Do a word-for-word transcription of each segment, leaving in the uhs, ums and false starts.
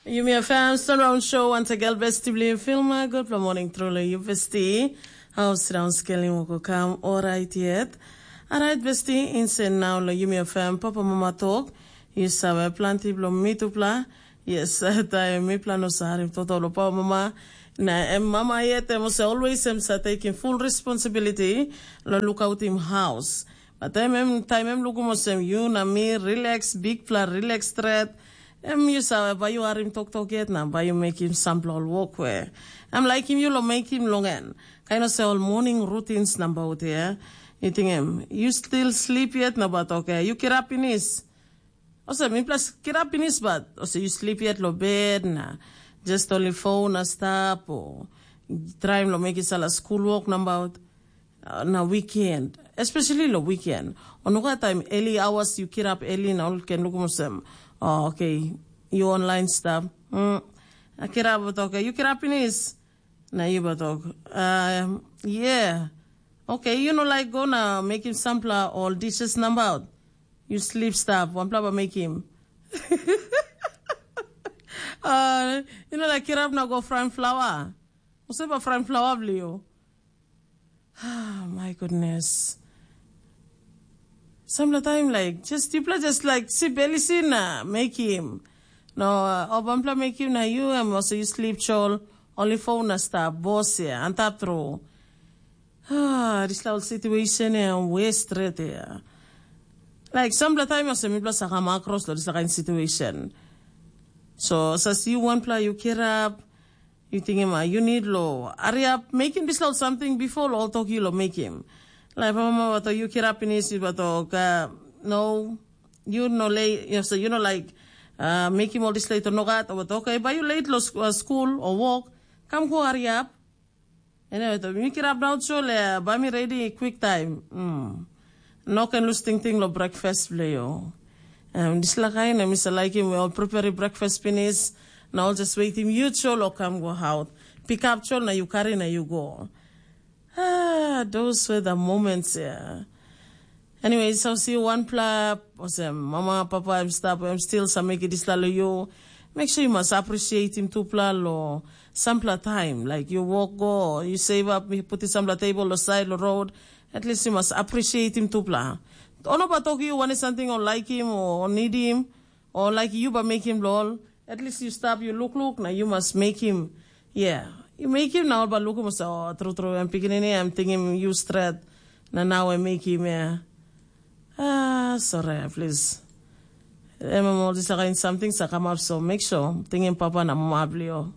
Yumi FM Sunround Show, once again, besti bilong Filma. Gutpela morning, truly, you besti. Hau sindaun skelim woko kam, orait yet. Orait, besti, insen nau lo Yumi FM, papa mama tok. Yu save, planti bilong mitupela. Yes, taim mipela no sarim toto lo papa mama. Na em mama yet, em ose always em sa taking full responsibility lo lukautim house. But em, em, taim em lukim olsem yu na mi relax, bikpela relax stret, em yu save, bai yu harim toktok yet na bai yu mekim sampela ol wok we em laikim yu long mekim long en. Kain olsem ol morning routines nabaut ya. Yu tingim, yu still sleep yet na bat oke, yu kirap pinis. Olsem, mipela kirap pinis bat, olsem yu sleep yet lo bed na just only phone na stap o traim lo mekim sala school work nabaut. Uh, na weekend, especially lo weekend. O nogat taim early hours yu kirap early na ol ken lukim olsem, oh, okay, yu online stap. Mm. Na kirap bat oke, yu kirap pinis. Na yu bat ok. Um, yeah. Okay, yu no laik go na mekim sampela ol dishes nabaut. Yu slip stap, wanpela ba mekim. Uh, yu no laik kirap na go frying flour. Olsem ba frying flour bilong yu. Ah, my goodness. Sampela taim like just yupela just like si beli si na mekim. No, o bampela mekim na yu em also yu slip chol, only phone na stap, bos ya, antap tru. Ah, dispela ol situation ya, west ret ya. Like sampela taim also mipela sa kam across lo dispela kain situation. So, sa si wanpela yu kirap, yu tingim, ah, yu nid lo hariap, mekim dispela ol samting bipo lo ol tok yu lo mekim. Laip mama bato yu kirap pinis, yu bato ka, no, yu no lei, yu, so yu no laik, ah, mekim ol dispela ito nogat, o bato, okay, bai yu leit lo sk- ah, skul o wok, kam go hariap. Anyway, to mi kirap daut so le, bai mi redi kwik taim. Mm. No ken lus tingting lo breakfast bilong yu. Um, dispela kain, em isa laikim we ol prepare breakfast pinis, na ol just waitim yu chol o kam go haut. Pick up chol na yu kari na yu go. Ah, those were the moments, yeah. Anyway, so si wanpela, olsem, mama, papa, em stap, em stil sa mekim dispela lo yu. Make sure you must appreciate him tupela lo sampela taim. Like you walk go, you save up, you put sampela table lo side lo road. At least you must appreciate him tupela. Ono ba tok you want something or like him or need him or like you ba make him lo ol. At least you stop, you look look, na you must make him. Yeah, you make him na ol ba lukim olsem, oh, tru tru, em pikinini, em tingim yu stret, na nau em mekim, yeah. Ah, sorry, please. Em em ol dispela kain samting sa kamap, so make sure tingim papa na mama bilio.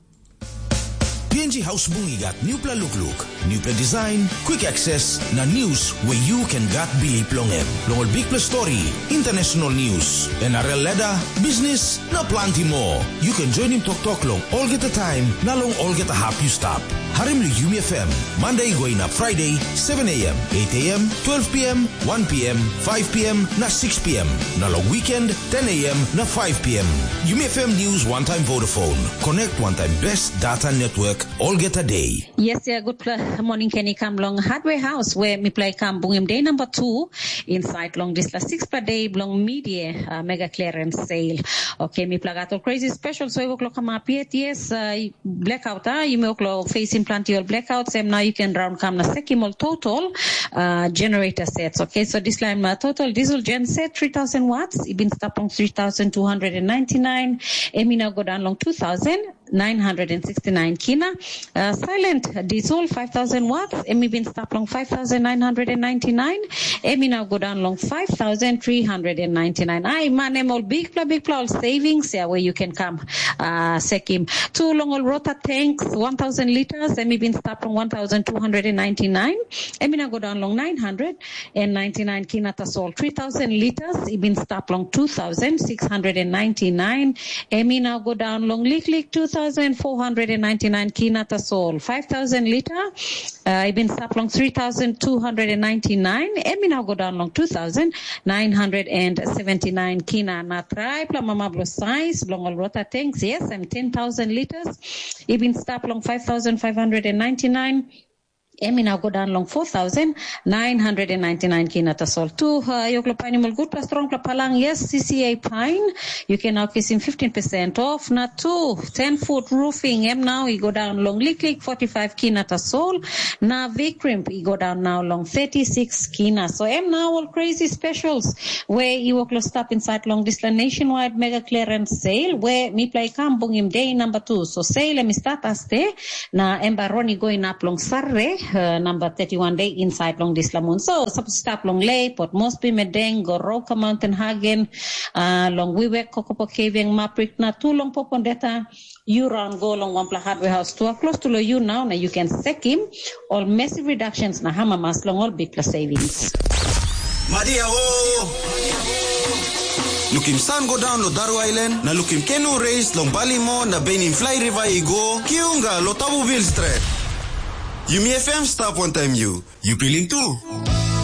P N G Haus Bung i gat nupela lukluk, nupela design, quick access, na news where you can gat bilip long em. Long ol bikpela story, international news, N R L ladder, business, na planti moa. You can join him toktok long olgeta taim na long olgeta hap you stap. Harim long Yumi F M, Monday going up Friday, seven a.m., eight a.m., twelve p.m., one p.m., five p.m., na six p.m. Na long weekend, ten a.m. na five p.m. Yumi F M News One Time Vodafone. Connect One Time Best Data Network olgeta day. Yes, yeah, good pla- morning, Kenny. Come long Hardware House, where mi play come bungim day number two inside long this last six per day belong media uh, mega clearance sale. Okay, mi play got all crazy special, so we o'clock come up yet. Yes, uh, blackout, ah, you may o'clock facing plenty of blackout. Same now you can round come na sekim all total uh, generator sets. Okay, so this line uh, total diesel gen set three thousand watts. It been stop on three thousand two hundred and ninety-nine. Emina go down long two thousand. nine hundred sixty-nine kina. Uh, silent diesel five thousand watts, emi bin stap long five thousand nine hundred ninety-nine, emi now go down long five thousand three hundred ninety-nine. Ai man, em ol big pla, big pla ol savings ya where you can come uh, sekim. Two long ol rota tanks, one thousand liters, emi bin stap long one thousand two hundred ninety-nine, emi now go down long nine hundred and ninety-nine kina tasol. Three thousand liters, i bin stap long two thousand six hundred ninety-nine. Emi now go down long liklik two thousand four hundred ninety-nine kina tasol. Five thousand liter, uh, i bin stap long three thousand two hundred ninety-nine. Emi now go down long two thousand nine hundred seventy-nine kina. Na try pla mama blo size, blong ol rota tanks, yes, em ten thousand liters. I bin stap long five thousand five hundred ninety-nine. Em i nau go daun long four thousand nine hundred and ninety-nine kina tasol tu. Uh, yokla painim ol gutpela strongpela palang, yes, C C A pain. You can now kisim fifteen percent off. Na tu, ten foot roofing, em nau i go daun long liklik forty-five kina tasol. Na Vikrimp i go daun nau long thirty-six kina. So em nau ol crazy specials we i wok lo stap inside long dispela nationwide mega clearance sale we mipela i kam bungim day number two. So sale em i start as day, na em bai ron i go inap long Saturday, uh, number thirty-one day inside long dispela moon. So suppose stap long Lay, Port Moresby, Madang, Goroka, Mountain Hagen, uh, long Wewak, Kokopo, Kavieng, Maprik, na tu long Popondeta, you run go long wanpela hardware house tua close to lo you now, na you can sekim all massive reductions na hamamas long all big plus savings. Madia o! Lukim san go daun lo Daru Island, na lukim kenu reis long Balimo na benim fly river i go, kiunga lo Tabu Bill Stret. Yumi F M stap wantaim yu. Yu pilim tu?